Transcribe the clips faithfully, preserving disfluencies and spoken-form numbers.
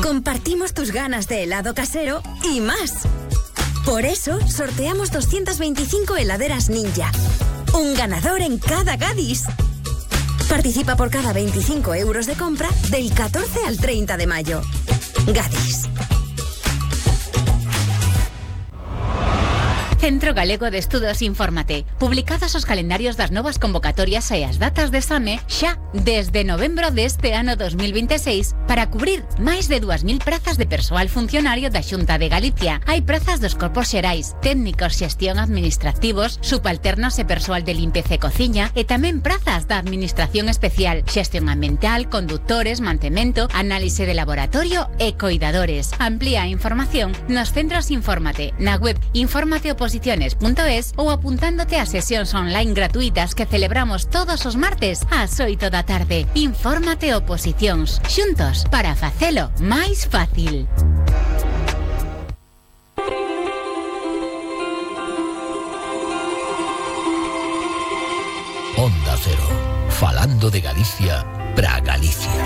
compartimos tus ganas de helado casero y más. Por eso, sorteamos doscientas veinticinco heladeras Ninja. Un ganador en cada Gadis. Participa por cada veinticinco euros de compra del catorce al treinta de mayo. Gadis. Centro Galego de Estudos Infórmate. Publicados os calendarios das novas convocatorias e as datas de exame xa desde novembro deste ano dos mil veintiséis para cubrir máis de dúas mil prazas de persoal funcionario da Xunta de Galicia. Hai prazas dos corpos xerais, técnicos xestión administrativos, subalternos e persoal de limpeza e cociña e tamén prazas da Administración Especial, xestión ambiental, conductores, mantemento, análise de laboratorio e coidadores. Amplía a información nos centros Infórmate, na web infórmate oposiciones punto es ou apuntándote a sesións online gratuitas que celebramos todos os martes ás oito da tarde. Infórmate Oposicións, xuntos para facelo máis fácil. Onda Cero, falando de Galicia pra Galicia.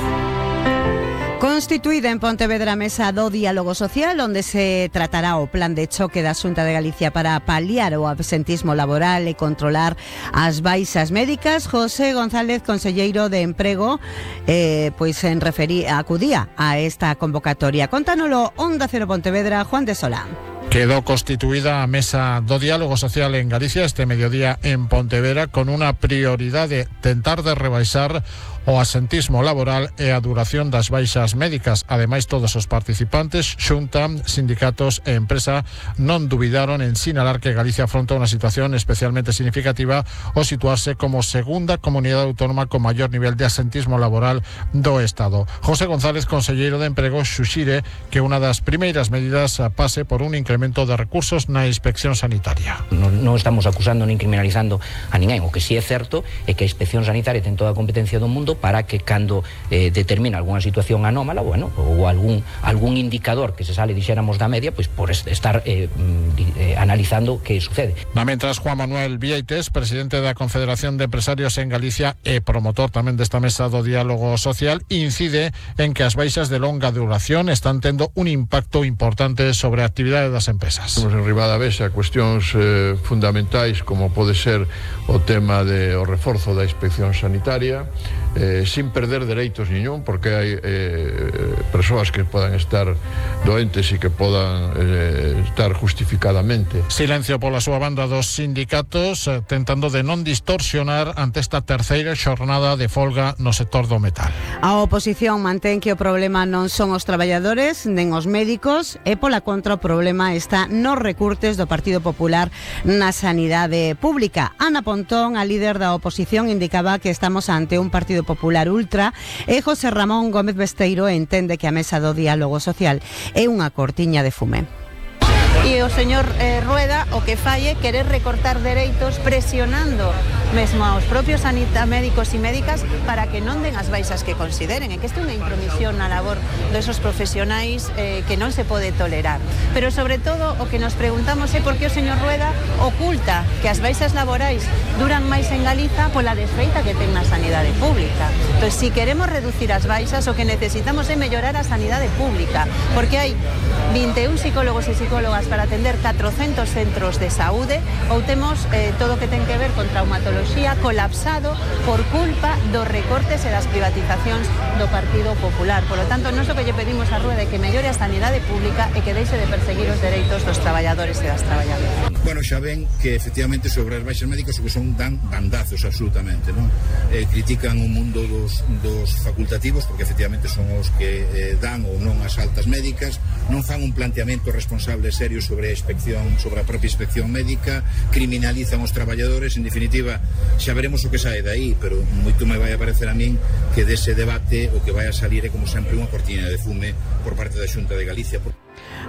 Constituída en Pontevedra a mesa do diálogo social, onde se tratará o plan de choque da Xunta de Galicia para paliar o absentismo laboral e controlar as baixas médicas. José González, conselleiro de Emprego, eh, pois en referí, acudía a esta convocatoria. Contánolo Onda Cero Pontevedra, Juan de Solán. Quedó constituida a mesa do diálogo social en Galicia este mediodía en Pontevedra con unha prioridade: tentar de rebaixar o asentismo laboral e a duración das baixas médicas. Ademais, todos os participantes, Xunta, sindicatos e empresa, non dubidaron en sinalar que Galicia afronta unha situación especialmente significativa ao situarse como segunda comunidade autónoma con maior nivel de asentismo laboral do Estado. José González, conselleiro de Emprego, xuxire que unha das primeiras medidas pase por un incremento de recursos na inspección sanitaria. Non, non estamos acusando nin criminalizando a ninguén. O que sí é certo é que a inspección sanitaria ten toda a competencia do mundo para que cando eh, determina algunha situación anómala, bueno, ou algún algún indicador que se sale, dixéramos, da media, pois por estar eh, eh, analizando que sucede. Na mentras, Juan Manuel Vieites, presidente da Confederación de Empresarios en Galicia e promotor tamén desta mesa do diálogo social, incide en que as baixas de longa duración están tendo un impacto importante sobre a actividade das empresas. Temos en Ribadavesa cuestións eh, fundamentais como pode ser o tema de o reforzo da inspección sanitaria, eh, sin perder dereitos niñón, porque hai eh, persoas que podan estar doentes e que podan eh, estar justificadamente. Silencio pola súa banda dos sindicatos, eh, tentando de non distorsionar ante esta terceira xornada de folga no sector do metal. A oposición mantén que o problema non son os traballadores nen os médicos e pola contra o problema está nos recurtes do Partido Popular na sanidade pública. Ana Pontón, a líder da oposición, indicaba que estamos ante un Partido Popular ultra e José Ramón Gómez Besteiro entende que a mesa do diálogo social é unha cortiña de fume. E o señor eh, Rueda o que fai é querer recortar dereitos presionando mesmo aos propios sanita, médicos e médicas para que non den as baixas que consideren, e que isto é unha intromisión na labor desos profesionais eh, que non se pode tolerar. Pero sobre todo o que nos preguntamos é por que o señor Rueda oculta que as baixas laborais duran máis en Galiza pola desfeita que ten na sanidade pública. Entón, se si queremos reducir as baixas, o que necesitamos é mellorar a sanidade pública, porque hai vinte e un psicólogos e psicólogas para atender catrocentos centros de saúde, ou temos eh, todo o que ten que ver con traumatoloxía colapsado por culpa dos recortes e das privatizacións do Partido Popular. Por lo tanto, non só que lle pedimos a Rueda que mellore a sanidade pública e que deixe de perseguir os dereitos dos traballadores e das traballadoras. Bueno, xa ven que efectivamente sobre as baixas médicas o que son dan bandazos absolutamente, non? Eh, critican o mundo dos, dos facultativos porque efectivamente son os que eh, dan ou non as altas médicas, non fan un planteamento responsable serio sobre a inspección, sobre a propia inspección médica, criminalizan os traballadores. En definitiva, xa veremos o que sae daí, pero moito me vai a parecer a min que dese debate o que vai a salir é como sempre unha cortina de fume por parte da Xunta de Galicia.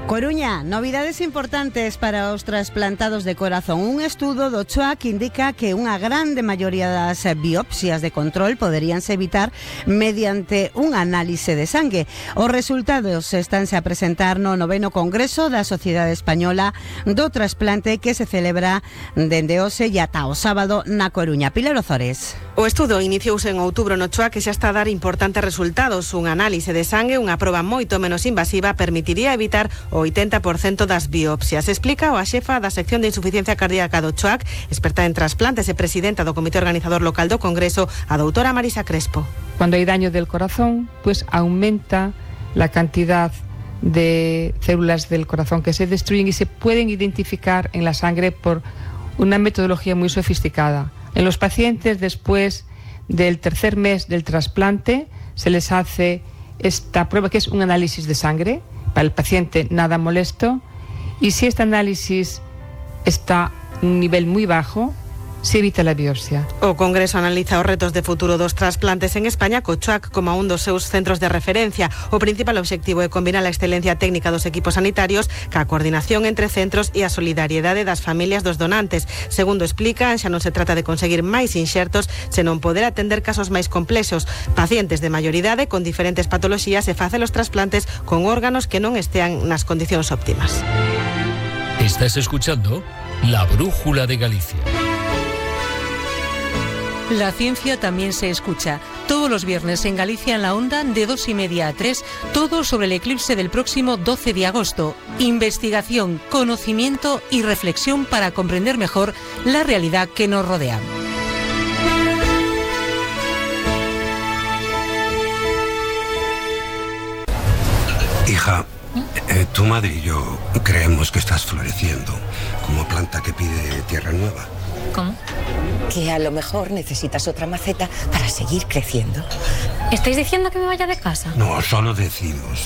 Coruña, novidades importantes para os trasplantados de corazón. Un estudo do C H O A que indica que unha grande maioría das biopsias de control poderíanse evitar mediante un análise de sangue. Os resultados estánse a presentar no noveno Congreso da Sociedade Española do Trasplante que se celebra dende hoxe e ata o sábado na Coruña. Pilar Ozores. O estudo iniciouse en outubro no C H O A que xa está a dar importantes resultados. Un análise de sangue, unha proba moito menos invasiva, permitiría evitar o oitenta por cento das biopsias. Explica a xefa da sección de insuficiencia cardíaca do C H O A C, experta en trasplantes e presidenta do Comité Organizador Local do Congreso, a doutora Marisa Crespo. Cuando hay daño del corazón, pues aumenta la cantidad de células del corazón que se destruyen y se pueden identificar en la sangre por una metodología muy sofisticada. En los pacientes, después del tercer mes del trasplante, se les hace esta prueba que es un análisis de sangre, para el paciente nada molesto, y si este análisis está a un nivel muy bajo, se evita la biopsia. O Congreso analiza os retos de futuro dos trasplantes en España co C H O A C como un dos seus centros de referencia. O principal obxectivo é combinar a excelencia técnica dos equipos sanitarios ca coordinación entre centros e a solidariedade das familias dos donantes. Segundo explican, xa non se trata de conseguir máis inxertos, senón poder atender casos máis complexos, pacientes de maioridade con diferentes patoloxías e facer os trasplantes con órganos que non estean nas condicións óptimas. Estás escuchando La Brújula de Galicia. La ciencia también se escucha. Todos los viernes en Galicia en la Onda, de dos y media a tres, todo sobre el eclipse del próximo doce de agosto. Investigación, conocimiento y reflexión para comprender mejor la realidad que nos rodea. Hija, eh, tu madre y yo creemos que estás floreciendo como planta que pide tierra nueva. ¿Cómo? Que a lo mejor necesitas otra maceta para seguir creciendo. ¿Estáis diciendo que me vaya de casa? No, solo decimos